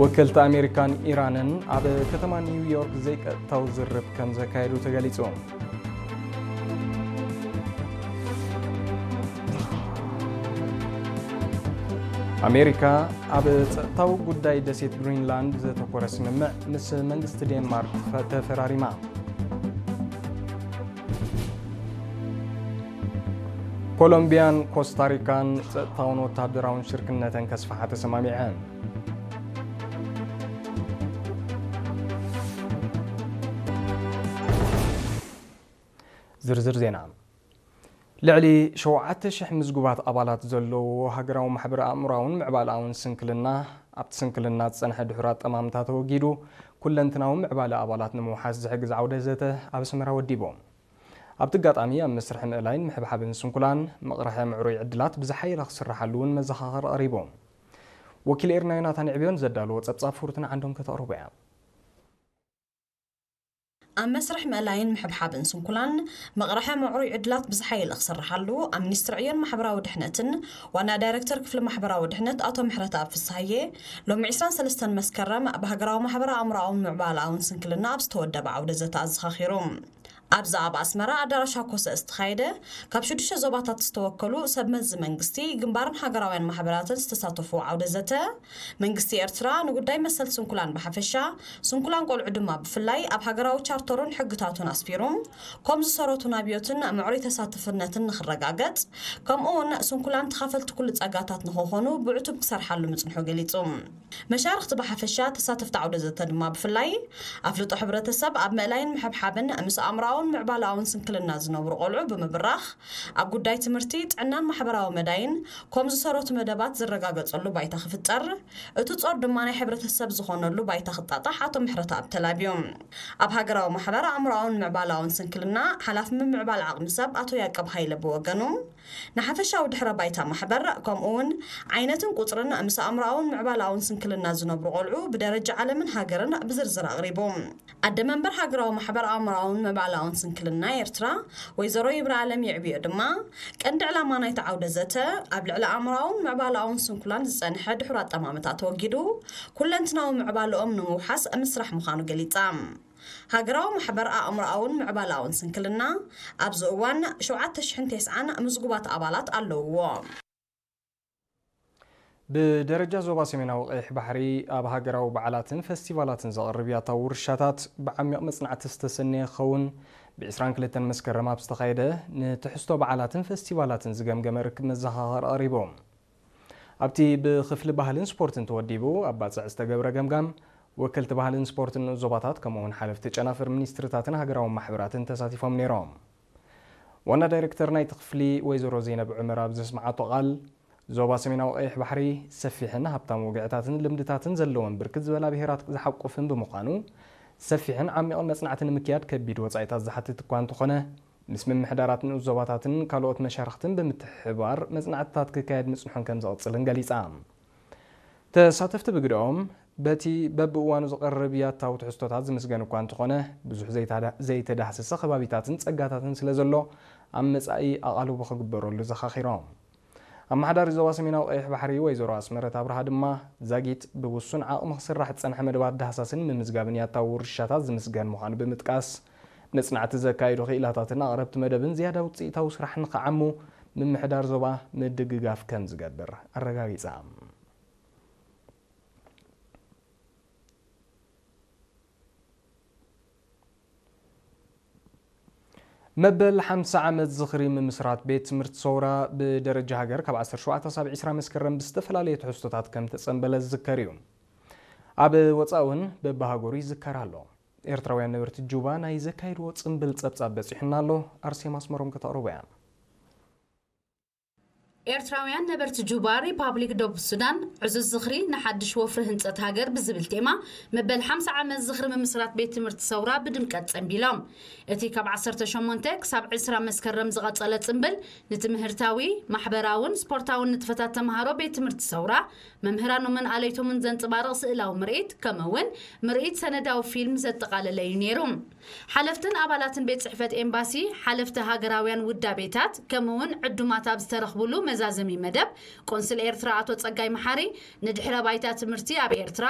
ወከልቲ ኣሜሪካን ኢራንን ኣብ ከተማ ኒውዮርክ ዘይቀጥታዊ ዝርብ ከም ዘካየዱ ተገሊጹ። ኣሜሪካ ኣብ ጸጥታዊ ጉዳይ ደሴት ግሪንላንድ ዘተኮረ ስምምዕ ምስ መንግስቲ ዴንማርክ ተፈ-፣ ተፈራሪማ። ኮሎምቢያን ኮስታሪካን ጸጥታውን ወታደራውን ሽርክነተን ከስፍሓ ተሰማሚዐን። ዝርዝር ዜና። ልዕሊ ሸውዓተ ሽሕ ምዝጉባት ኣባላት ዘለዎ ሃገራዊ ማሕበር ኣእምሮኣውን ምዕባለኣውን ስንክልና፣ ኣብቲ ስንክልና ዝጸንሐ ድሑር ኣጠማምታ ተወጊዱ፣ ኩለንትናዊ ምዕባለ ኣባላት ንምውሓስ ዝሕግዝ ዓውደ ዘተ ኣብ ኣስመራ ወዲቡ። ኣብቲ ኣጋጣሚ ኣብ መስርሕ ምእላይን ምሕብሓብን ስንኩላን መቕርሐ ምዕሩይ ዕድላት ብዝሓየለ ክስርሓሉ እውን መዘኻኸሪ ቀሪቡ። ወኪል ኤርና ዮናታን ዕብዮን ዘዳለዎ ጸብጻብ ፍሩትን ዓንዶም ከተቕርቦ እያ። ኣብ መስርሕ ምእላይን ምሕብሓብን ስንኩላን መቕርሐ ምዕሩይ ዕድላት ብዝሓየለ ክስርሓሉ ኣብ ሚኒስትሪ ዕዮን ማሕበራዊ ድሕነትን ዋና ዳይሬክተር ክፍሊ ማሕበራዊ ድሕነት ኣቶ ምሕረተኣብ ፍስሃየ ሎሚ ዕስራን ሰለስተን መስከረም ብሃገራዊ ማሕበራዊ ኣእምሮኣውን ምዕባለኣውን ስንክልና ኣብ ዝተወደበ ዓውደ ዘተ ኣዘኻኺሩ። ኣብዚ ኣብ ኣስመራ ኣዳራሽ ሃኮሰ ዝተኻየደ ካብ ሽዱሽተ ዞባታት ዝተወከሉ ሰብ መዚ መንግስቲ፣ ግንባርን ሃገራውያን ማሕበራትን ዝተሳተፉ ዓውደ ዘተ፣ መንግስቲ ኤርትራ ንጉዳይ መሰል ስንኩላን ብሓፈሻ፣ ስንኩላን ቆልዑ ድማ ብፍላይ ኣብ ሃገራዊ ቻርተሩን ሕግታቱን ኣስፊሩ፣ ከም ዝሰረቱ ናብዮትን ምዕሩይ ተሳትፍነትን ንኽረጋገጽ፣ ከምኡ እውን ስንኩላን ተኻፈልቲ ኩሉ ጸጋታት ንኽኾኑ ብዕቱብ ክሰርሓሉ ምጽንሑ ገሊጹ። መሻርኽቲ ብሓፈሻ፣ ተሳተፍቲ ዓውደ ዘተ ድማ ብፍላይ፣ ኣፍልጦ ሕብረተሰብ ኣብ ምእላይን ምሕብሓብን ምስ ኣእምሮኣውን ምዕባለኣውን ስንክልና ዝነብሩ ቆልዑ ብምብራኽ፣ ኣብ ጉዳይ ትምህርቲ፣ ጥዕናን ማሕበራዊ መዳይን ከም ዝሰረቱ መደባት ዝረጋገጸሉ ባይታ ክፍጠር፣ እቲ ጾር ድማ ናይ ሕብረተሰብ ዝኾነሉ ባይታ ክጣጣሕ ኣቶ ምሕረተኣብ ተላብዩ። ኣብ ሃገራዊ ማሕበር ኣእምሮኣውን ምዕባለኣውን ስንክልና ሓላፊ ምምዕባል ዓቕሚ ሰብ ኣቶ ያቀብ ሃይለ ብወገኑ፣ ንሓፈሻዊ ድሕረ ባይታ ማሕበር፣ ከምኡ እውን ዓይነትን ቁጽርን ምስ ኣእምሮኣውን ምዕባለኣውን ስንክልና ዝነብሩ ቆልዑ ብደረጃ ዓለምን ሃገርን ብዝርዝር ኣቕሪቡ። ኣደ መንበር ሃገራዊ ማሕበር ኣእምሮኣውን ምዕባለኣውን ስንክልና ኤርትራ፣ ወይዘሮ ይብረኣለም ይዕብዮ ድማ፣ ቀንዲ ዕላማ ናይቲ ዓውደ ዘተ፣ ኣብ ልዕሊ ኣእምሮኣውን ምዕባለኣውን ስንኩላን ዝጸንሐ ድሑር ኣጠማምታ ተወጊዱ፣ ኩለንትናዊ ምዕባለኦም ንምውሓስ ምስራሕ ምዃኑ ገሊጻ። ሃገራዊ ማሕበር ኣእምሮኣውን ምዕባለኣውን ስንክልና ኣብዚ እዋን ሸውዓተ ሽሕን ተስዓን ምዝጉባት ኣባላት ኣለውዎ። ብደረጃ ዞባ ሰሜናዊ ቀይሕ ባሕሪ ኣብ ሃገራዊ በዓላትን ፈስቲቫላትን ዘቕርብ ያታዊ ውርሻታት ብዓሚቕ መጽናዕቲ ዝተሰነየ ክኸውን፣ ብ ዕስራን ክልተን መስከረም ኣብ ዝተኻየደ ንትሕዝቶ በዓላትን ፈስቲቫላትን ዝገምገመ ርክብ መዘኻኸሪ ቀሪቡ። ኣብቲ ብክፍሊ ባህልን ስፖርትን ተወዲቡ ኣብ ባጽዕ ዝተገብረ ገምጋም፣ ወከልቲ ባህልን ስፖርትን ንኡስ ዞባታት፣ ከምኡ'ውን ሓለፍቲ ጨናፍር ሚኒስትርታትን ሃገራዊ ማሕበራትን ተሳቲፎም ነይሮም። ዋና ዳይሬክተር ናይቲ ክፍሊ ወይዘሮ ዘይነብ ዑመር ኣብ ዘስምዓቶ ቃል፣ ዞባ ሰሜናዊ ቀይሕ ባሕሪ ሰፊሕን ሃብታም ወግዕታትን ልምድታትን ዘለዎን ብርክት ዝበላ ብሄራት ዝሓቁፍን ብምዃኑ፣ ሰፊሕን ዓሚቕን መጽናዕቲ ንምክያድ ከቢድ ወጻኢታት ዝሓትት እኳ እንተኾነ፣ ምስ ምምሕዳራት ንኡስ ዞባታትን ካልኦት መሻርኽትን ብምትሕብባር መጽናዕትታት ክካየድ ምጽንሑን ከም ዝቕጽልን ገሊጻ። ተሳተፍቲ ብግደኦም፣ በቲ በብእዋኑ ዝቐርብ ያታዊ ትሕዝቶታት ዝምስገን እኳ እንተኾነ፣ ብዙሕ ዘይታዳ-፣ ዘይተዳህሰሰ ከባቢታትን ጸጋታትን ስለ ዘሎ፣ ኣብ መጻኢ ኣቓልቦ ክግበረሉ ዘኻኺሮም። ኣመሓዳሪ ዞባ ሰሜናዊ ቀይሕ ባሕሪ ወይዘሮ ኣስመረት ኣብርሃ ድማ፣ ዛጊት ብውሱን ዓቕሚ ክስራሕ ዝጸንሐ መደባት ዳህሳስን ምምዝጋብን ያታዊ ውርሻታት ዝምስገን ምዃኑ ብምጥቃስ፣ መጽናዕቲ ዘካይዱ ክኢላታትን ኣቕረብቲ መደብን ዝያዳ ውጽኢታዊ ስራሕ ንኽዓሙ ምምሕዳር ዞባ ምድግጋፍ ከም ዝገብር ኣረጋጊጻ። መበል ሓምሳ ዓመት ዝኽሪ ምምስራት ቤት ትምህርቲ ሰውራ ብደረጃ ሃገር ካብ ዓሰርተ ሸውዓተ ክሳብ ዕስራ መስከረም ብዝተፈላለየ ትሕዝቶታት ከም ተጸንበለ ዝዝከር እዩ። ኣብ ወጻኢ እውን በብሃገሩ ይዝከር ኣሎ። ኤርትራውያን ነበርቲ ጁባ ናይ ዘካይድዎ ጽምብል ጸብጻብ በጺሑና ኣሎ። ኣርሴማ ኣስመሮም ከተቕርቦ እያ። ኤርትራውያን ነበርቲ ጁባ፣ ሪፓብሊክ ደቡብ ሱዳን፣ ዕዙዝ ዝኽሪ ንሓድሽ ወፍሪ ህንጸት ሃገር ብዝብል ቴማ፣ መበል ሓምሳ ዓመት ዝኽሪ ምምስራት ቤት ትምህርቲ ሰውራ ብድምቀት ጸንቢሎም። እቲ ካብ ዓሰርተ ሸሞንተ ክሳብ ዕስራ መስከረም ዝቐጸለ ጽምብል፣ ንትምህርታዊ፣ ማሕበራውን ስፖርታውን ንጥፈታት ተምሃሮ ቤት ትምህርቲ ሰውራ፣ መምህራኖምን ኣለይቶምን ዘንጸባርቕ ስእላዊ ምርኢት፣ ከምኡ እውን ምርኢት ሰነዳዊ ፊልም ዘጠቓለለ እዩ ነይሩ። ሓለፍትን ኣባላትን ቤት ጽሕፈት ኤምባሲ፣ ሓለፍቲ ሃገራውያን ውዳቤታት፣ ከምኡ'ውን ዕዱማት ኣብ ዝተረኽቡሉ መዛዘሚ መደብ፣ ቆንስል ኤርትራ ኣቶ ጸጋይ መሓሪ፣ ንድሕረ ባይታ ትምህርቲ ኣብ ኤርትራ፣